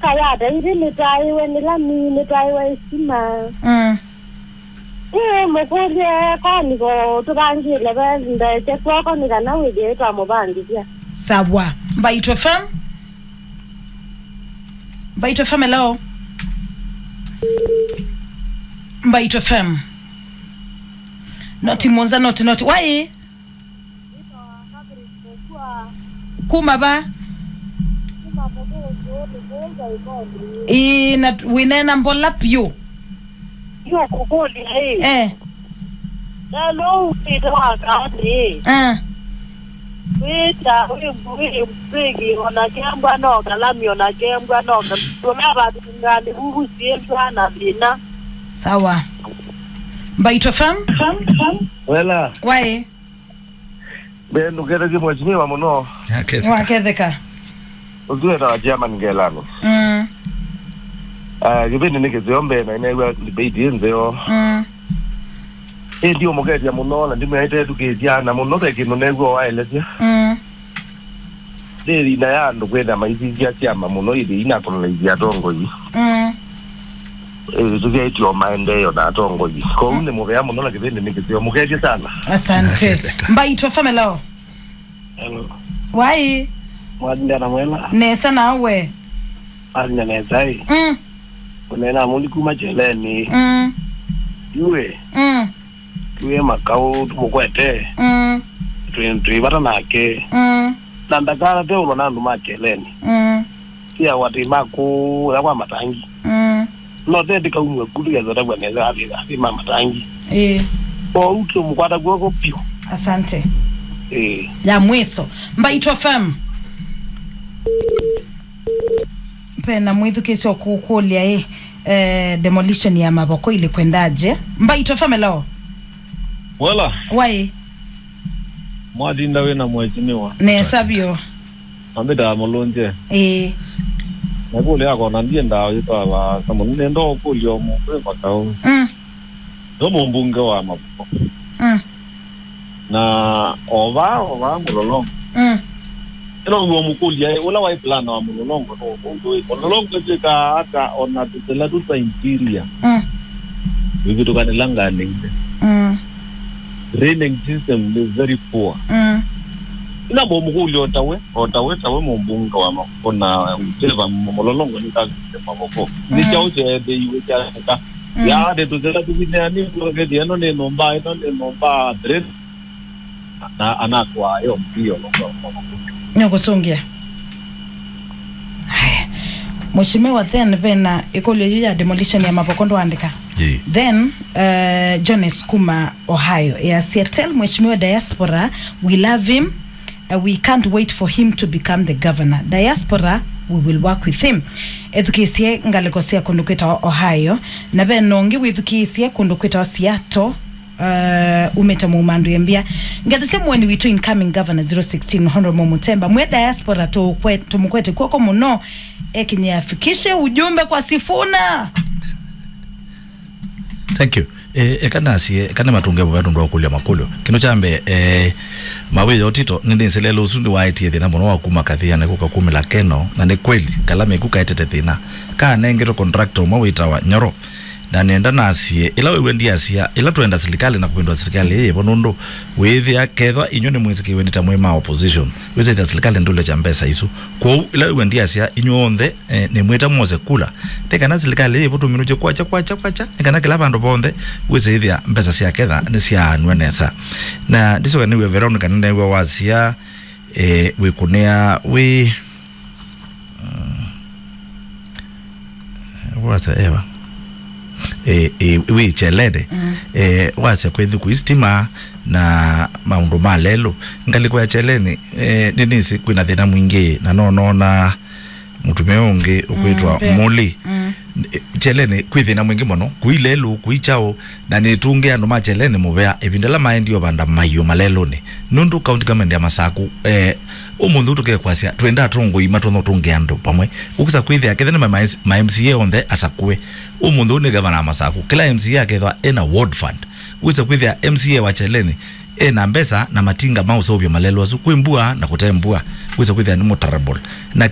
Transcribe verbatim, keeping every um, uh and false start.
Kayata ithi nĩtwaĩwe nĩ lami, nĩtwaĩwe isima. Mm. Ĩĩ, mũkũlye koniko tũvangĩle ve ndeke kwoko nĩ kana wĩthĩe twamũvangĩthya. Sawa. Mbaitũ F M. Mbaitũ F M, hello. Mbaitũ F M. Noti mũonza, noti, noti. Wai? Kuma va? Ĩĩ, na t-, wĩneena mbola vyũ. Yu kũkũlya ĩ. Eh. Lelo ũkĩte wa kaani. Eh. Wĩta, wĩ, wĩ, wĩgi, ona kembwa no kalami, ona kembwa no kalami. Tũnavatungani vuvu syĩtwa na thĩna. Sawa. Mbaitũ F M? Wela. Wai. Mbee ndũkethethye mheshimiwa mũno. Aketheka. Waketheka. Ũsu wetawa Chairman Ngelani. Mm. Ah, kĩvĩndĩ nĩ kĩseo mbee na nĩneew'a debate ĩ nzeo. Mm. Ĩndĩ ũmũkethya mũno na ndimwĩaĩte ethukĩĩsya na mũno ve kĩndũ neew'a waelesya. Mm. Nĩ ĩvinda ya andũ kwĩthĩa maisisya syama mũno ĩthĩ inakũlalaisya atongoi. Mm. Ĩthĩ tũsyaĩtye o maendeeo na atongoi. Kwoou nĩ mũvea mũno na kĩvĩndĩ nĩ kĩseo. Mũkethye sana. Asante. Mbaitũ F M, hello. Hello. Wai? Mwathindana mwela. Nesa nawe? Athina nesa ĩ. Mm. Ũneena mũndi kuma Kyeleni. Mm. Yue. Mm. Tuwe makau tũmũkwete. Mm. Twĩ, twĩ vata nake. Mm. Na ndakana teũlwa na andũ ma Kyeleni. Mm. Sia watĩ ma kũya kwa matangi. Mm. No teti kaumwe kulu ya zota kwa neza athi, athi ma matangi. Eh. O utu mkwata kwoko pio. Asante. Eh. Ya mwiso. Mbaitũ F M. Pena mwĩthukĩĩsya ũkũkũlya ĩ, eh, demolition ya mavoko ilĩ kwendaje? Mbaitũ F M, hello. Wela. Wai? Mwatinda wĩ na mheshimiwa. Nesa vyũ. Ambĩtaa Mũlũnje. Ĩĩ. Na kũlya akona ndiendaa ũyĩtwaa vaasa mũno. Nenda ũkũlya ũmũkwĩ makaũ. Mm. Yo mũmbunge wa mavoko. Mm. Na ovaa, ovaa Mũlolongo. Mm. Ĩla ũmũkũlya, ũla waĩ plan wa Mũlolongo, no ũndũ wĩ. Mũlolongo ĩtwĩkaa ata ona tũsela tũ twa interior. Mm. Wĩvĩtũkanĩla nganĩile. Mm. Drainage system is very poor. Mm. Ĩla mũmũkũlya o tawe, o tawe, tawe mũmbunge wa mavoko na Trevor Mũlolongo nĩ kavĩte mavoko. Nĩ kyaũ kyeethĩiwe kyaseka? Mm. Yaani tũsela tũvineani tũkethĩa ĩno nĩ nyũmba, ĩno nĩ nyũmba, drain. Na anatwaa yo mbio. Nĩũkũsũngĩa. Haya. Mheshimiwa, then vena ĩkũlyo yu ya demolition ya mavoko ndwaandĩka. Ĩĩ. Then, uh, Jones kuma Ohio yasya, "Tell Mheshimiwa Diaspora we love him. Uh, we can't wait for him to become the governor. Diaspora, we will work with him." Ethukĩĩsye ngalĩko sya kũndũ kwĩtawa Ohio, na vena ũngĩ wĩthukĩĩsye kũndũ kwĩtawa Seattle. Uh, umĩte Mumandu Embia. Ngathĩsya mũeni witũ incoming governor zero sixteen, Honorable Mutemba. Mwĩ diaspora tũkwe-, tũmũkwete kw'oko mũno. Ekinye afikishe ujumbe kwa Sifuna. Thank you. Eh, eka nasie, eka nĩmatũnge mũvea tũndũ wa kũlya makũlyo. Kĩndũ kya mbee, eh, Mawĩa Otito, nĩnĩsĩ lelũ ũsu nĩwaetie thĩna mũno wa kuma Kathĩanĩ kũka kumĩla Keno, na nĩ kweli, kala mĩku kaetete thĩna. Kanengetwe contractor ũmwe wĩtawa Nyoro. Na nenda nasie, ĩla wĩw'a ndiasya, ĩla twenda silikalĩ na kũvĩndũa silikalĩ ĩĩ yĩvo, nũndũ wĩĩthĩa kethwa inyw'ĩ nĩmwĩsĩkĩwe nĩ ta mwĩ ma opposition, wĩsĩthĩa silikalĩ ndũlekya mbesa isu. Kwoou, ĩla wĩw'a ndiasya, inyw'onthe, eh, nĩmwĩta mwose kula. Nĩ kana silikalĩ ĩĩ yĩvo tũminũkye kwakya, kwakya, kwakya, nĩ kana kĩla vandũ vonthe wĩsĩthĩa mbesa sya ketha nĩsyaanw'a nesa. Na ndĩsyoka nĩw'e Veronica nĩneew'a wasya, eh, wĩkũnĩa wĩ Mm. Wasa ewa. E, e, wĩ Kyeleni. Mm. E, wasya kwĩ thukũ isitima na maũndũ ma lelũ. Ngalĩko ya Kyeleni, e, nĩnĩsĩ kwĩna thĩna mwingĩ, na no noona mũtumĩa ũngĩ ũkwĩtwa, mm, Mũli. Mm. E, Kyeleni kwĩ thĩna mwingĩ mũno, kũi lelũ, kũi kyaũ, na nĩtũngĩa andũ ma Kyeleni mũvea ĩvinda ĩla maendie ũvanda maiũ malelũnĩ. Nũndũ county government ya Masaku, eh, ũmũnthĩ ũũ tũkekwasya, twenda atongoi matonya ũtũngĩa andũ vamwe. Ũkĩsa kwĩthĩa kethĩa nĩ ma, ma, ma M C A onthe asakũe. Ũmũnthĩ ũũ nĩ gavana wa Masaku. Kĩla M C A akethwa ena ward fund. Wĩsa kwĩthĩa M C A wa Kyeleni ena mbesa na matinga ma ũseũvya malelũ asu. Kwĩ mbua na kũte mbua. Wĩsa kwĩthĩa nĩ mũtarable. Na